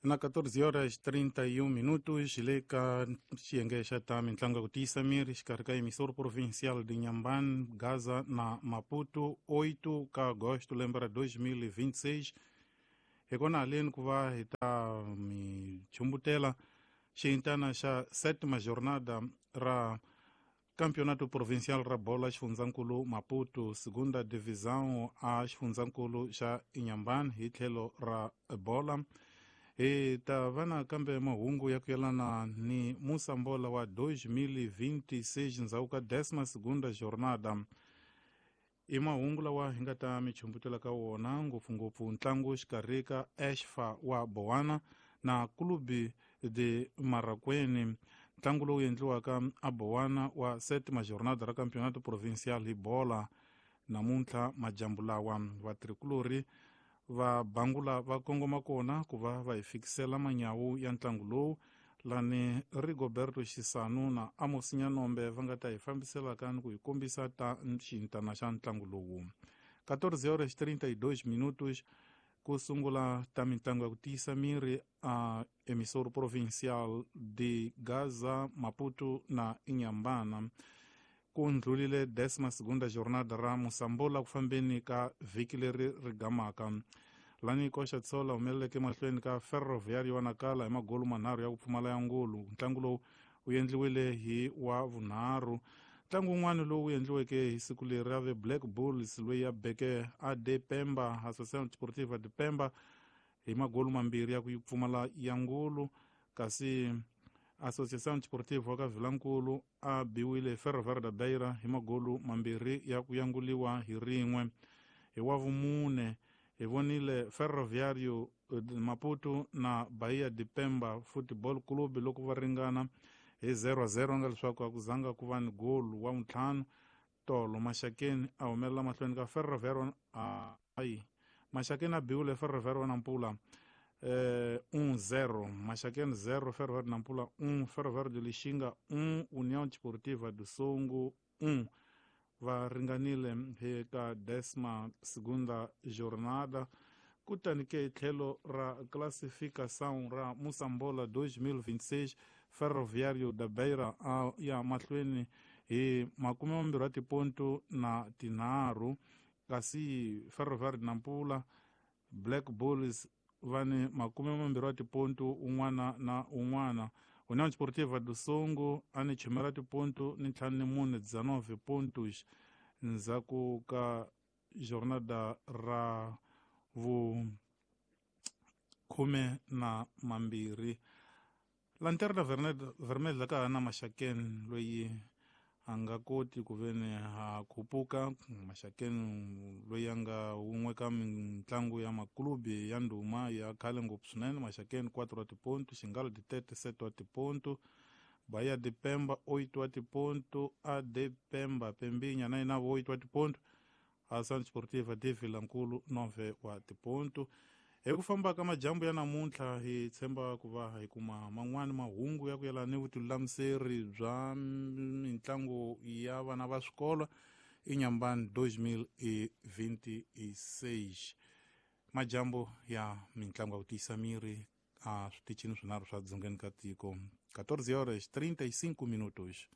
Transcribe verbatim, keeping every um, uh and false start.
Na catorze horas trinta e um minutos, le ka xiyenge xa ta mintlangu ya ku tiyisa miri xikarhi ka emissor provincial de Inhambane, Gaza na Maputo, oito ka agosto lembe ra dois mil e vinte e seis. Hi kona haleni ku va hi ta mi chumbutela xiyintana xa sétima jornada ra Campeonato Provincial ra bola xifundzankulu Maputo, segunda divisão a xifundzankulu xa Inhambane hi tlhelo ra bola. Hi ta va na kambe mahungu ya ku yelana ni Moçambola wa dois mil e vinte e seis ndzhaku ka décima segunda jornada. I mahungu lawa hi nga ta mi chumbutela ka wona ngopfungopfu ntlangu xikarhi ka Ashfa wa Bowana na Clube de Marracuene, ntlangu lowu endliwaka a Bowana wa sétima jornada ra Campeonato Provincial hi bola. Namuntlha majambu lawa va tricolori va bangula va kongoma kona ku va va hi fikisela manyawu ya ntlangu lowu lani Rigoberto Xisanu na Amos Nyanombe va nga ta hi fambiselaka ni ku hi kombisa ta xintana xa ntlangu lowu. catorze horas trinta e dois minutos ku sungula ta mintlangu ya ku tiyisa miri a emissor provincial de Gaza, Maputo na Inhambane. Ku ndlulile décima segunda jornada ra Moçambola ku fambeni ka vhiki leri ri gamaka. Lani Koxa Tsola humeleleke mahlweni ka Ferroviário wa Nacala hi magolu manharhu ya ku pfumala ya ngulu. Ntlangu lowu wu endliwile hi wa vunharhu. Ntlangu wun'wana lowu endliweke hi siku leri ra Black Bulls loyi ya beke A D Pemba, Associação Desportiva de Pemba hi magolu mambirhi ya ku pfumala ya ngulu, kasi Associação Desportiva wa ka Vilankulu a biwile Ferroviário da Beira hi magolu mambirhi ya ku yanguliwa hi rin'we. Hi wa vumune hi vonile Ferroviário Maputo na Bahia de Pemba Football Club loko va ringana hi zero a zero, nga leswaku a ku zanga ku va ni golu wa ntlhanu. Tolo Maxakeni a humelela mahlweni ka Ferroviário ayi Maxakeni a biwile Ferroviário wa Nampula eh, um zero, Maxakeni zero, Ferroviário Nampula um, Ferroviário de Lixinga um, União Desportiva do Songo um. Va ringanile hi ka décima segunda jornada. Kutani ke tlhelo ra classificação ra Moçambola dois mil e vinte e seis, Ferroviário da Beira a ya mahlweni hi makume mambirhi wa tiponto na tinharhu, kasi Ferroviário de Nampula Black Bulls va ni makume mambirhi wa tiponto un'wana na un'wana. União Desportiva do Songo a ni chumela tiponto ni ntlhanu ni mune dezenove pontos ndzhaku ka jornada ra vu khume na mambirhi. Lanterna Vermelha ka ha na Maxakeni loyi a nga koti ku veni ha khupuka. Maxakeni loyi a nga wun'we ka mitlangu ya maklubi ya ndhuma ya khale ngopfu swinene. Maxakeni quatro wa tiponto, Xingalo de Tete sete wa tiponto, Bahia de Pemba oito wa tiponto, A D Pemba Pembinya na yena oito wa tiponto, Associação Desportiva de Vilankulu nove wa tiponto. Hi ku famba ka majambu ya namuntlha hi tshemba ku va hi kuma man'wani mahungu ya ku yelana ni vutilamuseri bya mitlangu ya vana va swikolo Inhambane dois mil e vinte e seis. Majambu ya mitlangu ya ku tiyisa miri a switichini swinharhu swa dzongeni ka tiko. catorze horas trinta e cinco minutos.